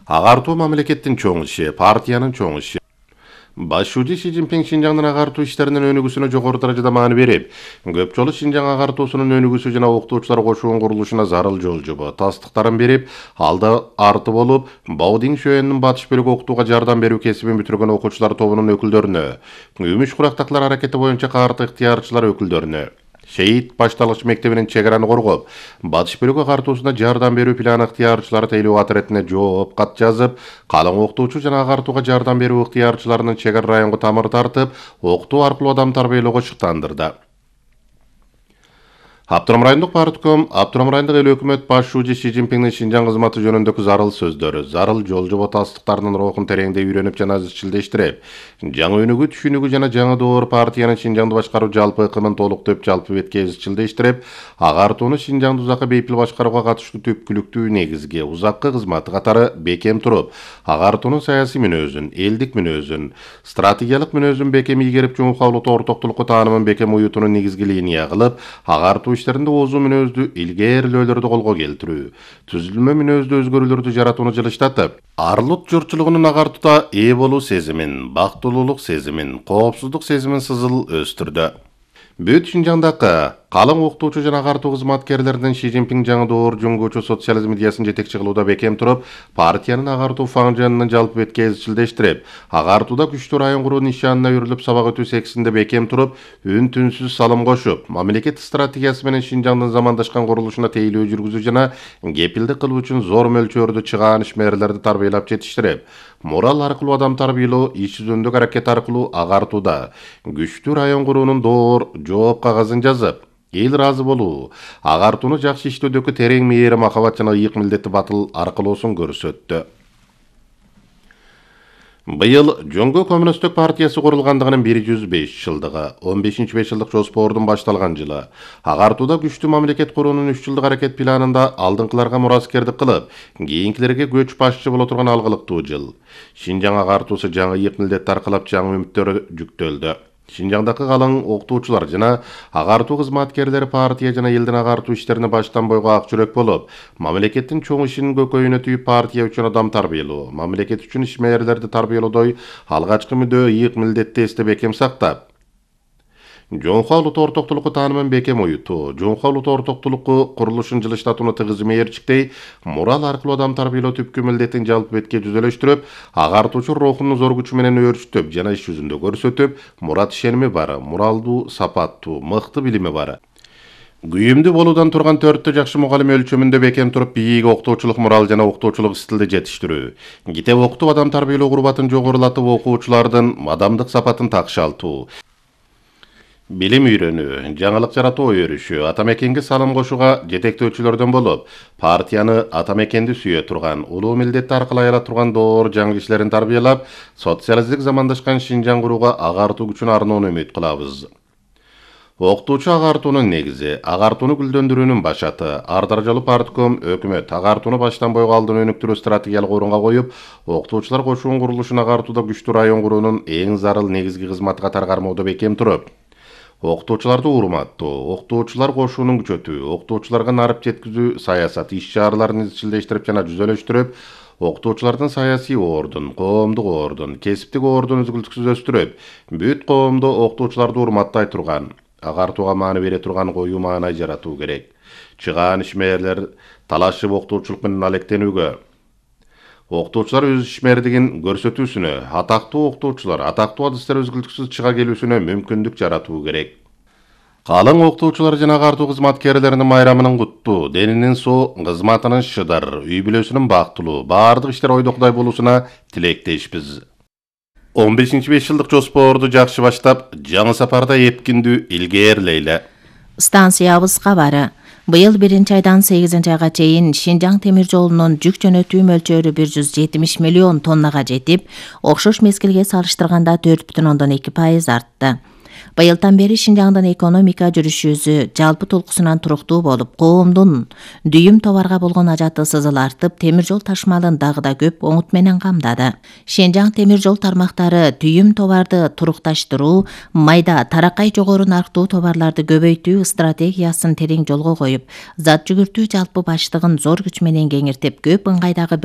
Агартуу мамлекеттин чоң иши, партиянын чоң иши. Башчы Си Цзиньпин Шинжаңдын агартуу иштеринин өнүгүүсүнө жогору даражада маани берип, көп жолу Шинжаң агартуусунун өнүгүүсү жана окутуучулар кошуунун курулушуна зарыл жол жобо тастыктарын берип, алда арты болуп, Баодин шөөнүнүн батыш бөлүгү окутууга жардам берүү кесибин бүтүргөн окуучулар тобунун өкүлдөрүнө, Үмүш курактаклар аракети боюнча каарты ыктыярчылар өкүлдөрүнө, Шейит башталгыч мектебинин чек-араны коргоп, батыш бөлүгү агартуусуна жардам берүү планы ыктыярчылары тейлөө атретине жооп кат жазып, калың окутуучу жана агартууга жардам берүү ыктыярчыларынын чек-ара районго тамыр тартып, окутуу аркылуу адам тарбиялоого шыктандырды. Абдурам райондук партком, Абдурам райондук эл өкмөт башчы Си Цзиньпиндин Шинжаң кызматы жөнүндөгү зарыл сөздөрү, зарыл жол жобо тастыктарынын рухун тереңдей үйрөнүп жана изчилдештирип, жаңы өнүгүү түшүнүгү жана жаңы доор партиянын Шинжаңды башкаруу жалпы ыкымын толуктоп, жалпы бетке изчилдештирип, агартууну Шинжаңды узакка бейпил башкарууга катыштуу түпкүлүктүү негизги, узаккы кызматы катары бекем туруп, агартуунун саясий мүнөзүн, элдик мүнөзүн, стратегиялык мүнөзүн бекем ийгерип, жумукалуулукту ортоктулукку таанымын бекем уютууну негизги линия кылып, агартуу иштеринде озуу мүнөздүү илгээрилөөлөрдү колго келтирүү, түзүлмө мүнөздүү өзгөрүүлөрдү жаратууну жылыштатып, арлут журтчулугунун агартууда ээ болуу сезимин, бактылуулук сезимин, коопсуздук сезимин сызыл өстүрдү. Бүт Шинжаңдагы калың окутуучу жана агартуу кызматкерлеринин Си Цзиньпин жаңы доор жуңгуучу социализм идеясын жетекчи кылууда бекем туруп, партиянын агартуу фаңжанынын жалпы бетке изчилдештирип, агартууда күчтүү район куруу нишанына үрүлүп сабак өтүү сексинде бекем туруп, үн түнсүз салым кошуп, мамлекет стратегиясы менен Шинжаңдын замандашкан курулушуна тейлөө жүргүзүү жана кепилдик кылуу үчүн зор мөлчөрдө чыгаан ишмерлерди тарбиялап жетиштирип, морал аркылуу адам тарбиялоо, иш жүзүндөгү аракет аркылуу агартууда күчтүү район куруунун доор жооп кагазын жазып, эл ыраазы болуу, агартууну жакшы иштөөдөгү терең мээри махабат жана ыйык милдети батыл аркылоосун көрсөттү. Быйыл Жоңго Коммунисттик партиясы курулгандыгынын 105 жылдыгы, 15-5 жылдык жоспордун башталган жылы. Агартууда күчтүү мамлекет куруунун 3 жылдык аракет планында алдыңкыларга мураскердик кылып, кийинкилерге көч башчы боло турган алгылыктуу жыл. Шинжаң агартуусу жаңы ыйык милдет аркылап жаңы үмүттөр жүктөлдү. Шинжаңдагы калың окутуучулар жана агартуу кызматкерлери партия жана элдин агартуу иштерине баштан бойго ак жүрөк болуп, мамлекеттин чоң ишинин көкөйүнө түйүп партия үчүн адам тарбиялоо, мамлекет үчүн ишмерлерди тарбиялоодой алгачкы мүдөө ыйык милдетти эсте бекем сактап, жоңхо улут ортоктулукку таанымын бекем уютуу, жоңхо улут ортоктулукку курулушун жылыштатууну тыгыз мээрчиктей, мурал аркылуу адам тарбиялоо түпкү милдетин жалпы бетке жүзөлөштүрүп, агартуучу рухунун зор күчү менен өөрчүтүп жана иш жүзүндө көрсөтүп, мурат ишеними бар, муралдуу, сапаттуу, мыкты билими бар. Күйүмдүү болуудан турган 4 жакшы мугалим өлчөмүндө бекем туруп, бийик окутуучулук мурал жана окутуучулук стилди жетиштирүү. Китеп окутуп адам тарбиялоо курбатын жогорулатып, окуучулардын адамдык сапатын такшалтуу. Билим үйрөнүү, жаңылык жаратуу өрүшү, атамекенге салым кошууга жетектөөчүлөрдөн болуп, партияны атамекенди сүйө турган, улуу милдетти аркылуу аяла турган доор жаңы кишилерин тарбиялап, социалисттик замандашкан Шинжаң курууга агартуу күчүн арноону үмүт кылабыз. Окутуучу агартуунун негизи, агартууну гүлдөндүрүүнүн башаты, ар даражалуу партком, өкмөт агартууну баштан бойго алдын өнүктүрүү стратегиялык орунга коюп, окутуучулар кошуунун курулушун агартууда күчтүү район куруунун эң зарыл негизги кызматы катары кармоодо бекем туруп, окутуучуларды урматтоо, окутуучулар кошуунун күчөтүү, окутуучуларга нарып жеткизүү саясат иш-чараларын изчилдештирип жана жүзөлөштүрүп, окутуучулардын саясий ордун, коомдук ордун, кесиптик ордун үзгүлтүксүз өстүрүп, бүт коомдо окутуучуларды урматтай турган, агартууга маани бере турган коюу маанай жаратуу керек. Чыгаан ишмерлер талашып окутуучулук менен алектенүүгө, окутуучулар өз ишмердигин көрсөтүүсүнө, атактуу окутуучулар, атактуу адистер үзгүлтүксүз чыга келүүсүнө мүмкүндүк жаратуу керек. Калың окутуучулар жана агартуу кызматкерлеринин майрамынын куттуу, денинин соо, кызматынын шыдар, үй бүлөсүнүн бактылуу, баардык иштер ойдокудай болуусуна тилектешпиз. 15-5 жылдык жоспорду жакшы баштап, жаңы сапарда эпкиндүү илгээрлейле. Станциябыз кабары. Быйыл 1-айдан 8-айга чейин Шинжаң темир жолунун жүк жөнөтүү мөлчөрү 170 миллион тоннага жетип, окшош мезгилге салыштырганда 4,2% артты. Быйылдан бери Шинжаңдын экономика жүрүшүзү жалпы толкусунан туруктуу болуп, коомдун дүйүм товарга болгон ажаты сызыл артып, темир жол ташмалын дагы да көп оңут менен камдады. Шинжаң темир жол тармактары дүйүм товарды турукташтыруу, майда таракай жогору нарктуу товарларды көбөйтүү стратегиясын терең жолго коюп, зат жүгүртүү жалпы баштыгын зор күч менен кеңиртип, көп ыңгайдагы